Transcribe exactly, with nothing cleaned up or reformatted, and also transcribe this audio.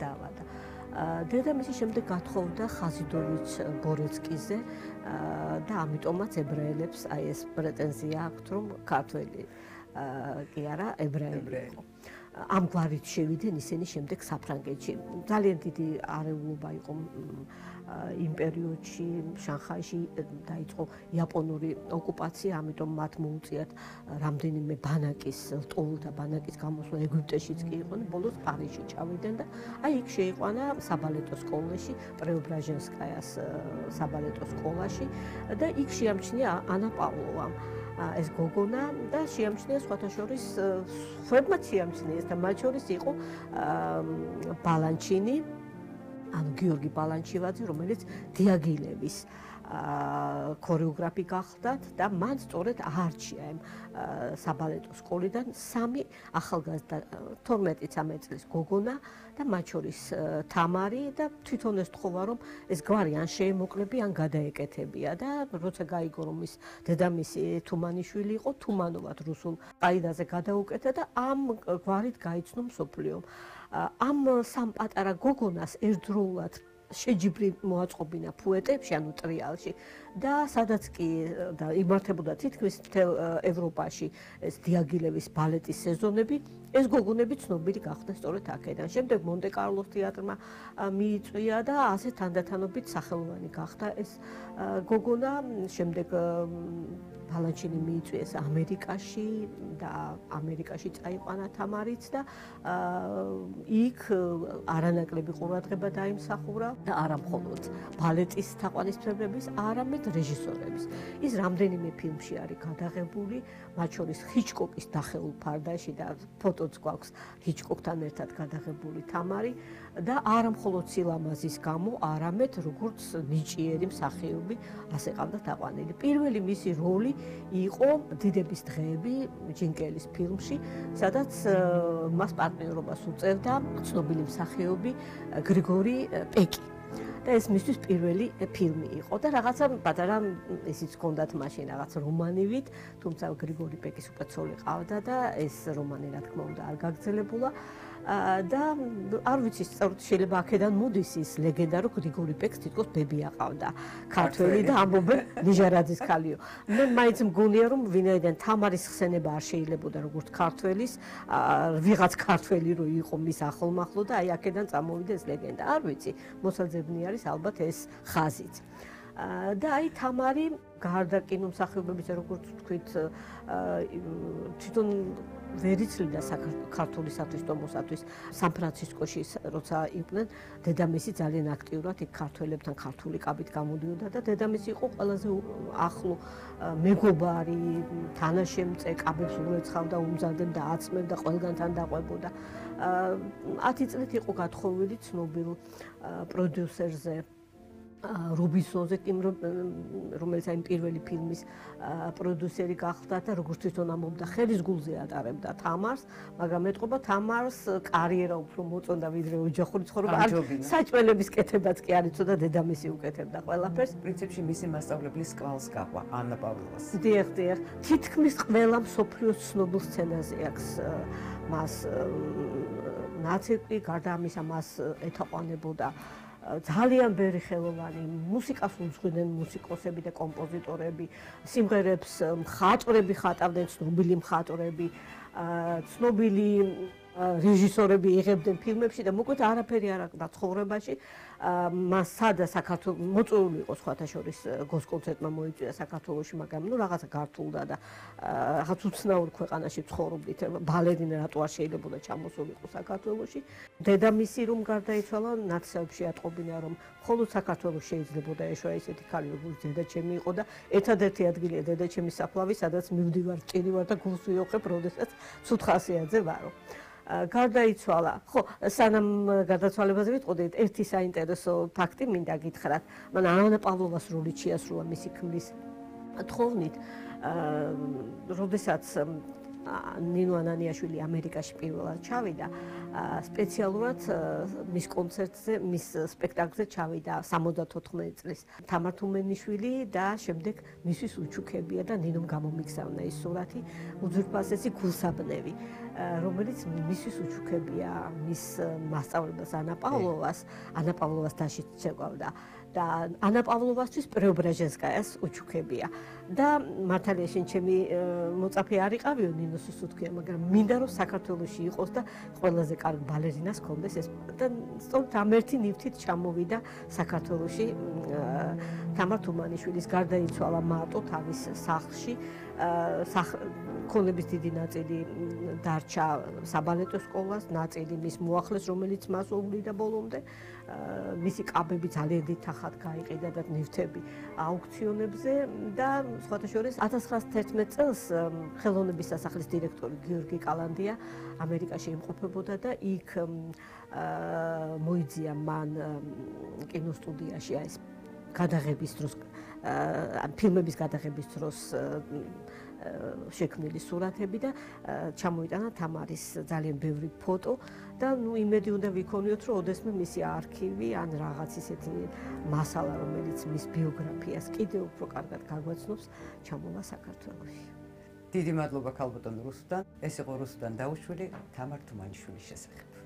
დაავადა. დედამისი შემდეგ გათხოვდა ხაზიდოვიჩ ბორეცკიზე და ამიტომაც ებრაელებს აი ეს პრეტენზია აქვთ, რომ ქართველი კი არა, ებრაელი იყო. ამგვარით შევიდნენ ისინი შემდეგ საფრანგეთში. ძალიან დიდი არეულობა იყო იმ პერიოდში, შანხაიში დაიწყო იაპონური ოკუპაცია, ამიტომ მათ მოუწიათ რამდენიმე ბანაკის, ლტოლთა ბანაკის გამოსვლა ეგვიპტეშიც კი იყვნენ, ბოლოს პარიზში ჩავიდნენ და აი იქ შეიყვანა საბალეტო სკოლაში, პრეობრაჟენსკაიას საბალეტო სკოლაში და იქ შეამჩნია ანა პავლოვამ. ეს გოგონა და შეამჩნია სხვათა შორის სხვებმაც შეამჩნიეს და მათ შორის იყო ბალანჩინი, ანუ გიორგი ბალანჩივაძე, რომელიც დიაგილევის ქორეოგრაფი გახლდათ და მან სწორედ აარჩია ამ საბალეტო სკოლიდან სამი ახალგაზრდა თორმეტი-ცამეტი წლის გოგონა და მათ შორის თამარი და თვითონ ეს თხოვა რომ ეს გვარი ან შეემოკლები ან გადაეკეთებია და როცა გაიგო რომ ის დედამისი თუმანიშვილი იყო თუმანოვად რუსულ ყაიდაზე გადაუკეთა და ამ გვარით გაიცნო მსოფლიომ. ამ სამ პატარა გოგონას ერთდროულად შეჯიბრი მოაწყობინა ფუეტებში, ანუ ტრიალში და სადაც კი და იმართებოდა თითქმის მთელ ევროპაში ეს დიაგილევის ბალეტის სეზონები, ეს გოგონები ცნობილი გახდა სწორედ აქედან. შემდეგ მონტე-კარლოს თეატრმა მიიწვია და ასე თანდათანობით სახელოვანი გახდა ეს გოგონა. შემდეგ ბალანჩინი მიიწვიეს ამერიკაში და ამერიკაში წაიყვანა თამარიც და იქ არანაკლები ყურადღება დაიმსახურა და არა მხოლოდ ბალეტის თაყვანისმცემლების, არამედ რეჟისორების. ის რამდენიმე ფილმში არის გადაღებული, მათ შორის ჰიჩკოკის დახეულ ფარდაში და ფოტოც გვაქვს ჰიჩკოკთან ერთად გადაღებული თამარი და არა მხოლოდ სილამაზის გამო, არამედ როგორც ნიჭიერი მსახიობი ასე ყავდა თაყვანილი. პირველი მისი როლი იყო დიდების დღეები ჯინკელის ფილმში, სადაც მას პარტნიორობას უწევდა ცნობილი მსახიობი გრიგორი პეკი. და ეს მისთვის პირველი ფილმი იყო და რაღაცა პატარა ისიც ჰქონდათ მაშინ რაღაც რომანივით, თუმცა გრიგორი პეკის უკვე ცოლი ყავდა და ეს რომანი რა თქმა უნდა არ გაგრძელებულა და არ ვიცი სწორედ შეიძლება აქედან მოდის ის ლეგენდა რომ გრიგორი პეკს თითქოს ბები აყავდა ქართველი და ამბობენ ნიჟარაძის ქალიო. მე მაინც მგონია რომ ვინაიდან თამარის ხსენება არ შეიძლებოდა როგორც ქართველის, ვიღაც ქართველი რო იყო მის ახლომახლო და აი აქედან წამოვიდა ეს ლეგენდა. არ ვიცი, მოსაძებნი არის ალბათ ეს ხაზიც. და აი თამარი გარდა კინომსახიობებისა, როგორც ვთქვით, თვითონ ვერ იცლიდა ქართულისათვის, ტომოსათვის. სან-ფრანცისკოში როცა იყვნენ, დედამისი ძალიან აქტიურად იქ ქართველებთან ქართული კაბით გამოდიოდა და დედამისი იყო ყველაზე ახლო მეგობარი, თანაშემწე, კაბებს უეცხავდა, უმზადებდა, აწმევდა, ყველგანთან დაყვებოდა. ათი წლით იყო გათხოვილი ცნობილ პროდიუსერზე რობინსონზე, რომელიც აი პირველი ფილმის პროდიუსერი გახდა და როგორც თვითონ ამბობდა, ხელის გულზე ატარებდა თამარს, მაგრამ ეტყობა თამარს კარიერა უფრო მოწონდა ვიდრე ოჯახური ცხოვრება. საჭმელების კეთებაც კი არ იცოდა, დედამისი უკეთებდა ყველაფერს. პრინციპში მისი მასწავლებლის კვალს გაყვა ანა პავლოვას. დიახ, დიახ. თითქმის ყველა მსოფლიოს ცნობილ სცენაზე აქვს მას ნაცეკვი, გარდა ამისა მას ეთაყვანებოდა ძალიან ბევრი ხელოვანი მუსიკას უძღვნენ მუსიკოსები და კომპოზიტორები, სიმღერებს მხატვრები ხატავდნენ, ცნობილი მხატვრები, ცნობილი რეჟისორები იღებდნენ ფილმებში და მოკლედ არაფერი არ აქვს ცხოვრებაში. მას სადა საქართველოს მოწვეული იყო სხვათა შორის გოს კონცერტმა მოიწვია საქართველოში, მაგრამ ნუ რაღაცა გართულდა და რაღაც უცნაურ ქვეყანაში ცხოვრობდით. ბალერინა რატო არ შეიძლებოდა ჩამოსულიყო საქართველოში. დედამისი რომ გარდაიცვალა, ნაცნობებში ატყობინა რომ მხოლოდ საქართველოს შეიძლებოდა ეშვა ისეთი ქალი როგორც დედაჩემი იყო და ერთადერთი ადგილია დედაჩემის საფლავი, სადაც მივდივარ, წირივარ და გულს ვიოხებ, როდესაც ცუთხასიაძე ვარო. გარდაიცვალა. ხო, სანამ გარდაცვალებაზე ვიტყოდით, ერთი საინტერესო ფაქტი მინდა გითხრათ. მან ანა პავლოვას როლი შეასრულა მისი ქმრის თხოვნით, როდესაც ნინო ანანიაშვილი ამერიკაში პირველად ჩავიდა, სპეციალურად მის კონცერტზე, მის სპექტაკლზე ჩავიდა სამოცდათოთხმეტი წლის თამარ თუმენიშვილი და შემდეგ მისთვის უჩუქებია და ნინომ გამომიგზავნა ის სურათი უძვირფასესი გულსაბნევი. რომელიც მისთვის უჩუქებია მის მასწავლებლას ანა პავლოვას, ანა პავლოვას დაში შეგვავდა და ანა პავლოვასთვის პრეობრაჟენსკაიას უჩუქებია. და მართალია შენ ჩემი მოწაფე არ იყავიო ნინო სუსუთქია, მაგრამ მინდა რომ საქართველოში იყოს და ყველაზე კარგ ბალერინას ჰქონდეს ეს და სწორედ ამ ერთი ნივთით ჩამოვიდა საქართველოში თამარ თუმანიშვილის გარდაიცვალა მარტო თავის სახლში ქონების დიდი ნაწილი დარჩა საბალეტო სკოლას, ნაწილი მის მოახლეს, რომელიც მას უვლიდა ბოლომდე. მისი კაბები ძალიან დიდ თანხად გაიყიდა და ნივთები აუქციონებზე და სხვათა შორის ათას ცხრაასი თერთმეტ წელს ხელოვნების სასახლის დირექტორი გიორგი კალანდია ამერიკაში იმყოფებოდა და იქ მოიძია მან კინოსტუდიაში ეს გადაღების დროს ფილმების გადაღების დროს შექმნილი სურათები და ჩამოიტანა თამარის ძალიან ბევრი ფოტო და ნუ იმედი უნდა ვიქონიოთ რომ ოდესმე მისი არქივი ან რაღაც ისეთი მასალა რომელიც მის ბიოგრაფიას კიდევ უფრო კარგად გაგვაცნობს ჩამოვა საქართველოში. დიდი მადლობა ქალბატონ რუსუდან. ეს იყო რუსუდან დაუშვილი თამარ თუმანიშვილის შესახებ.